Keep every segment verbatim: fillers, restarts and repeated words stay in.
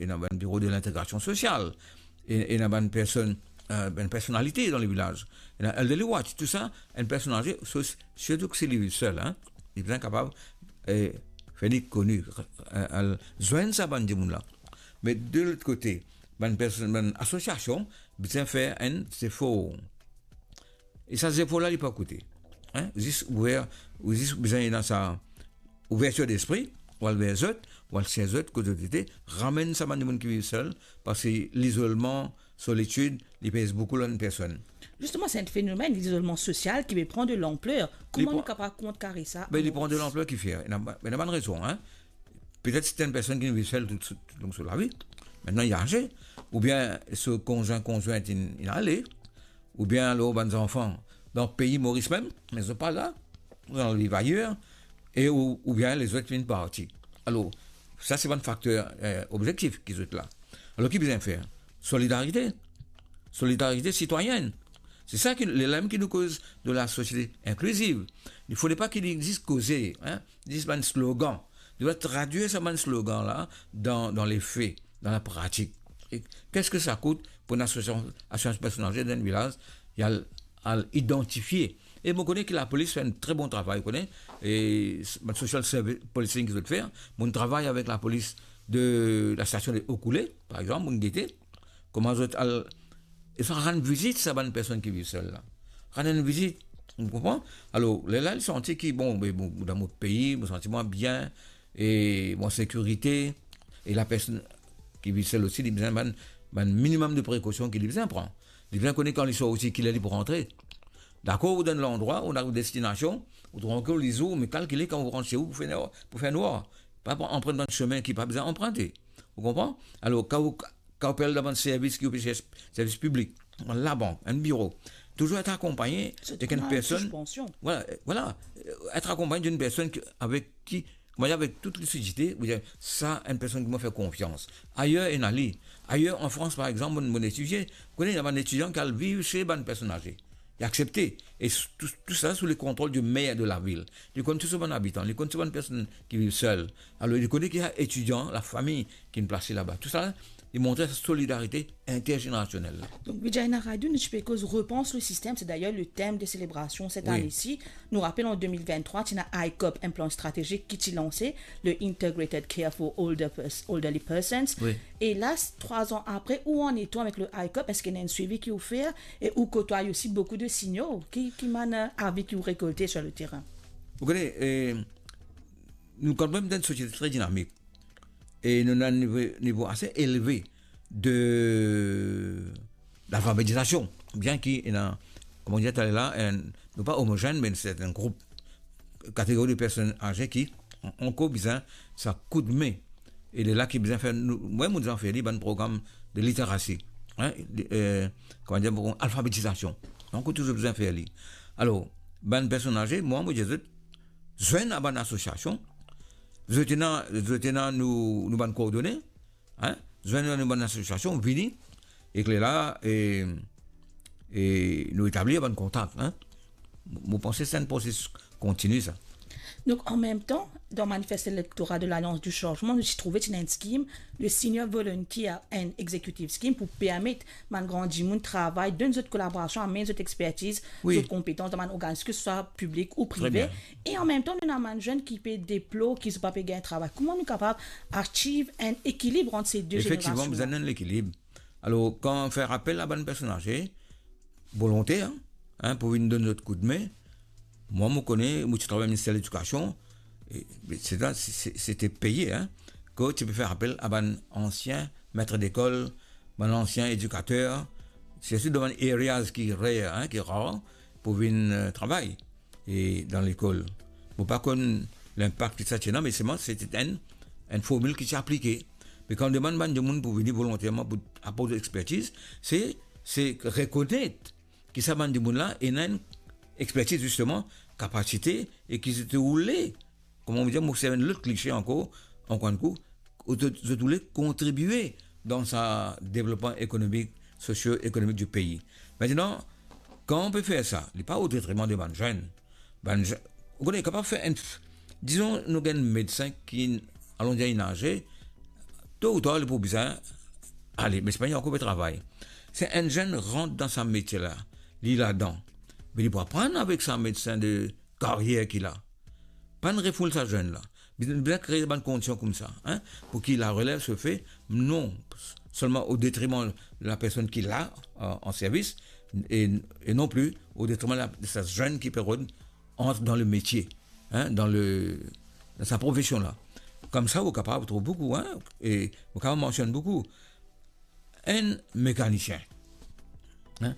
ena bann biro de lintegrasion sosial, e, ena bann personn, eh, bann personalite dan le vilaz, ena elderly watch, tou sa, enn personn aze, so, sirtou si li viv sel, hein, li bizin kapav, eh, fer li koni, eh, al zwenn sa bann dimoun la. Me de lot kote, bann personn, bann asosiasion bizin fer enn zefor. E sa zefor la, li pa koute. Hein? Zis ouver, ou zis bizin ena sa ouvertir lespri, ou al ver zot, ou al sers zot, kot zot ete, ramenn sa bann dimoun ki viv sel, parski lizolman, solitid, li pez boukou lor enn personn. Zisteman, se enn fenomenn, lizolman sosial, ki pe pran de lanpler. Li Kouma pran nou kapav kontrkare sa? Ben, li pran de lanpler ki fer. Ena, ena bann rezon, hein. Petet se enn personn ki viv sel tou, tou, tou long so lavi. Aster li aze, oubien so konzwin, konzwint inn, inn ale, oubien alor bann zanfan dan pei Moris mem, me zot pa la, zot al viv ayer, e ou, oubien lezot finn parti. Alor, sa se bann fakter, eh, objektif ki zot la. Alor, ki bizin fer? Solidarite. Solidarite sitwayenn. Se sa ki, le, lemem ki nou koz de la sosiete inkliziv. Il fodre pa ki li zis koze, hein, zis bann slogan. Li dwa tradwir sa bann slogan la dan, dan le fe, dan la pratik. E keski sa kout pou enn asosiasion, asosiasion personn aze dan enn vilaz, li al, al idantifie? E mo kone ki lapolis fer enn tre bon travay, ou kone, e s-, bann social service policing ki zot fer, mo travay avek lapolis de la stasion de Okoulé, par exanp, mo gete, kouma zot al, e sa rann vizit sa bann personn ki viv sel la. Rann enn vizit, ou konpran? Alor, lerla li santi ki, bon, be, bon, dan mo pei, mo santi mwa bien, e mo an sekirite, e la personn ki viv sel osi, li bizin bann, bann minimem de prekosion ki li bizin pran. Li bizin kone kan li sorti, kiler li pou rantre. Dakor, ou dan landrwa, ou dan destinasion, ou trankil, lizour, me kalkile kan ou rant se ou pou fer nwar, pou fer nwar. Pa pran, anprant bann semin ki pa bizin anprante. Ou konpran? Alor, kan ou, kan ou pe al dan bann servis ki ou pe servi, servis piblik, bann labank, enn biro, touzour et akonpagne avek enn personn. Vwala, vwala, et akonpagne enn personn ki, avek ki, kouma dir, avek tout lisidite, ou dir, sa enn personn ki mo fer konfians. Ayer ena li. Ayer, an Frans, par exanp, mo, mo etidie, ou kone, ena bann etidian ki al viv se bann personn aze. Li aksepte. E s-, tou, tou sa sou le kontrol di mer de lavil. Li konn tou so bann abitan, li konn tou bann personn ki viv sel. Alor, li kone ki ena etidian, lafami ki inn plase laba. Tou sa, li montre sa solidarite interzenerasionel la. Donk, Vijay Naidu, nou ti pe koz Repans le système, c'est d'ailleurs le thème de célébration cette année-ci. Nou rapel, an de mil venntrwa, ti ena ICOP, enn plan stratezik ki ti lanse, le Integrated Care for Older Pers-, Elderly Persons. E la, trwa an apre, ou annan avek le ICOP, eski ena enn swivi ki ou fer, e ou kotway osi boukou de senior, ki, ki bann, eh, avi ki ou rekolte sur le terrain? Ou kone, eh, nou kanmem dan enn sosiete tre dinamik. E nou ena enn nivo, nivo ase elve de, lalfabetizasion. Bien ki ena, kouma nou dir taler la, enn, nou pa omozenn, me serten group, kategori de personn aze ki an-, ankor bizin sa koudme. E lerla ki bizin fer, nou, mwa, mo bizin fer li bann program de literasi, hein, de, eh, kouma dir, program alfabetizasion. Donk, ou touzour bizin fer li. Alor, bann personn aze, mwa, mo dir zot, zwenn a bann asosiasion, zot ena, zot ena nou, nou bann koordone, hein, zwenn nou bann asosiasion, vini, ek lerla, e, e nou etablir bann kontak, hein. Mo panse se enn prosesis kontini, sa. Donk, an mem tan, dan manifest elektoral de Lalliance du Changement, nou ti trouve ti ena enn skim, le Senior Volunteer and Executive Scheme, pou permet bann gran dimoun travay, donn zot kolaborasion, amenn zot expertiz, zot konpetans dan bann organizasyon, ki swa piblik ou prive. E an mem tan, nou ena bann zenn ki pe deplor, ki zot pa pe gagn travay. Kouma nou kapav achieve enn ekilib ant se de zenerasion? Efektivman, bizin enn lekilib. Alor, kan fer apel a bann personn aze, volonter, hein, pou vinn donn zot koudme, mwa, mo kone, mo ti travay minister ledikasion, e, se, se, se, se ti peye, hein, kot ti pe fer apel a bann ansien met lekol, bann ansien edikater, sirtou dan bann areas ki rare, hein, ki rar, pou vinn, eh, travay, e dan lekol. Mo pa konn linpak ki sa ti ena, me selman se ti enn, enn formil ki ti aplike. Me kan nou demann bann dimoun pou vini volonterman pou aport expertiz, se, se rekonet ki sa bann dimoun la ena enn expertiz, zisteman, kapasite, e ki zot oule, kouma nou dir, mo servi enn lot klishe ankor, ankor enn kou, zot, zot oule kontribie dan sa devlopman ekonomik, sosio-ekonomik di pei. Aster, kan nou pe fer sa, li pa o detriman de bann zenn. Bann zenn, ou kone, kapav fer enn, dizon, nou gagn medsin ki, alon dir, inn aze, to ou tar, li pou bizin ale, me sipannla li ankor pe travay. Si enn zenn rant dan sa metie la, li ladan, me li pou aprann avek sa medsin de karyer ki la. Pa'nn refoul sa zenn la. Bizin, bizin kree bann kondision koumsa, hein, pou ki larelev se fe, non selman o detriman la personn ki la, euh, an servis, e, e non pli o detriman la, de sa zenn ki pe rod ant dan le metie, hein, dan le, dan sa profesion la. Koumsa, ou kapav trouv boukou, hein, e ou kapav mansionn boukou. Enn mekanisien, hein,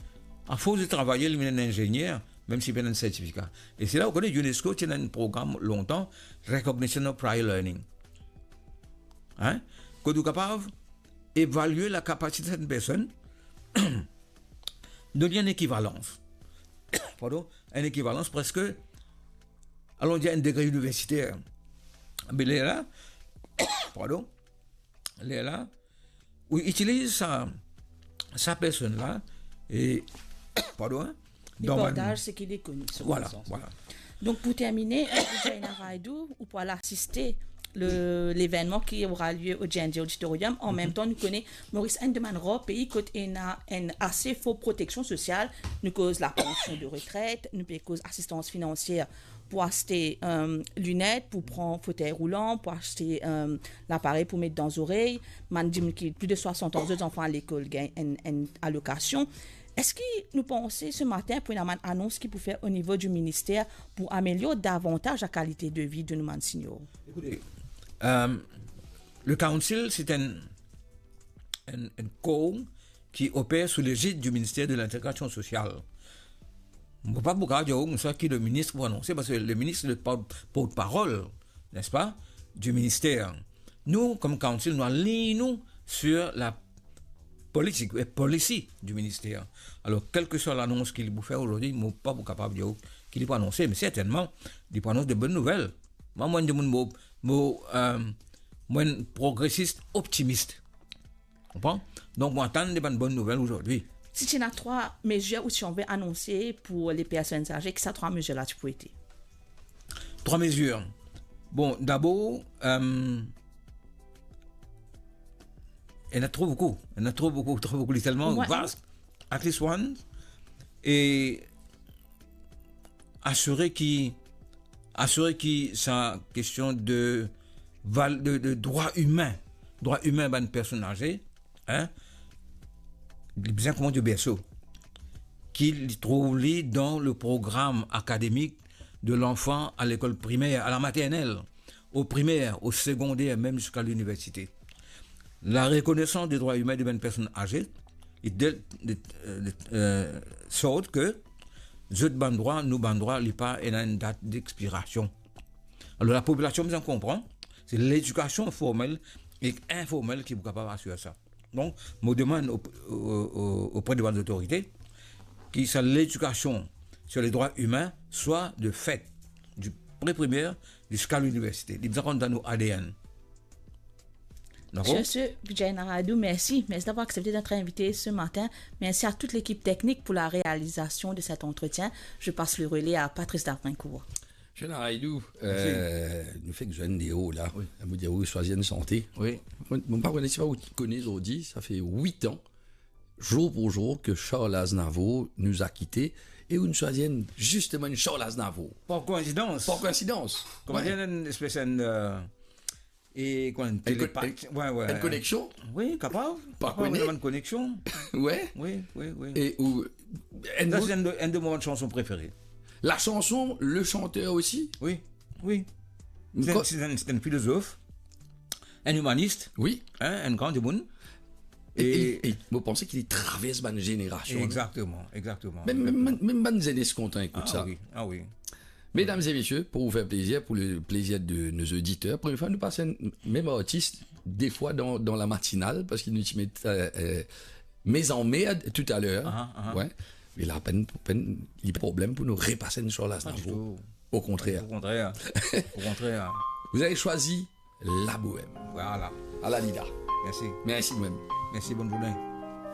afors de travay, li vinn enn inzenier, mem si li pena enn sertifika. E se la ou kone UNESCO ti ena enn program lontan, Recognition of Prior Learning. Hein? Kot ou kapav evalie lakapasite sertenn personn, donn li enn ekivalans. Pardon, enn ekivalans preske, alon dir enn degre iniversiter. Me lerla, pardon, lerla, ou itiliz sa, sa personn la, e, pardon, hein, li dan bann partaz seki li kone, so konesans. Vwala, vwala. Donk, pou termine, euh, Vijay Naidu, ou pou al asiste le, levennman ki aura lie o J N J Auditorium. An mem tan, nou kone Moris enn de bann rar pei kot ena enn ase for proteksion sosial. Nou koz lapansion de retret, nou pe koz asistans finansier pou aste, euh, linet, pou pran fotey roulan, pou aste, euh, laparey pou met dan zorey. Bann dimoun ki plis de swasant an, zot zanfan al lekol gagn enn, enn alokasion. Eski nou panse se matin pou ena bann anons ki pou fer o nivo di minister pou amelior davantaz lakalite de vi de nou bann senior? Ekoute, euh, le Council, se enn, enn, enn kor ki oper sou lezid di Minister de Lintegrasion Sosial. Mo pa pou kapav dir ou koumsa ki le minis pou anonse, parski le minis se le port-, portparol, n'est-ce pas, di minister. Nou, kom Council, nou align nou sur la politik e policy di minister. Alor, kelseswa lanons ki li pou fer azordi, mo pa pou kapav dir ou ki li pou anonse, me sertennman, li pou anons de bonn nouvel. Mwa, mo enn dimoun, mo, mo, euh, mo enn progresis optimis. Konpran? Donk, mo atann de bann bonn nouvel azordi. Si ti ena trwa mezir ou ti anvi anonse pou le personn aze, ki sa trwa mezir la ti pou ete? Trwa mezir. Bon, dabor, euh, ena tro boukou. Ena tro boukou, tro boukou, li telman vas. At least one. E asire ki, asire ki sa kestion de val-, de, de drwa imin, drwa imin bann personn aze, hein, li bizin koumans de berso, ki li trouv li dan le program akademik de lanfan a lekol primer, a la maternel, o primer, o segonder, mem ziska liniversite. La rekonesans de drwa imin de bann personn aze, e de, de, de, euh, sort ke zot bann drwa, nou bann drwa, li pa ena enn dat dexpirasion. Alor, lapopilasion bizin konpran, se ledikasion formel ek informel ki pou kapav asir sa. Donk, mo demann o, o, o, opre de bann zotorite ki sa ledikasion sur les droits humains soit de fait, du pré-primaire jusqu'à l'université. Li bizin rant dan nou A D N. Dakor? Sur ce, Vijay Naidu, merci. Merci d'avoir accepté notre invité ce matin. Merci à toute l'équipe technique pour la réalisation de cet entretien. Je passe le relais à Patrice Darvincourt. Vijay Naidu, euh, nou fek zwenn de ou la. Wi. Mo dir ou swazir enn sante. Wi. Mo, mo pa kone si ou kone zordi, sa fer wit an, zour pou zour, ke Charles Aznavour nous a quittés, e ou swazir enn, zisteman, enn Charles Aznavour. Par koinsidans. Par koinsidans. Kouma dir, enn espes enn, euh, e kouma enn telepat. Enn ko-, enn, wi, wi. Enn koneksion? Wi, kapav. Pa kone. Kapav, enn koneksion. Wi. Wi, wi, wi. E ou, enn sa, se enn de, enn de mo bann sanson prefere. La chanson, le chanteur aussi? Wi, wi. Se enn, se enn, se enn filozof, enn imanis, wi, hein, enn gran dimoun. E, e, e, e mo panse ki li travers bann zenerasion, non? Egzakteman, egzakteman, egzakteman. Mem, mem, mem bann zenes kontan ekout sa. Ah wi, ah wi. Mesdames et messieurs, pour vous faire plaisir, pour le plaisir de nos auditeurs, première fois nous passons même artiste, des fois dans, dans la matinale, parce qu'il nous met, euh, euh, mes emmerdes tout à l'heure. Ah, ah. Ouais. Mais là, pas de, pas de, il y a pas de problème pour nous repasser une sur la. Pas du tout. Au contraire. Au contraire. Au contraire. Vous avez choisi la bohème. Voilà. Alanida. Merci. Merci même. Merci, bonne journée.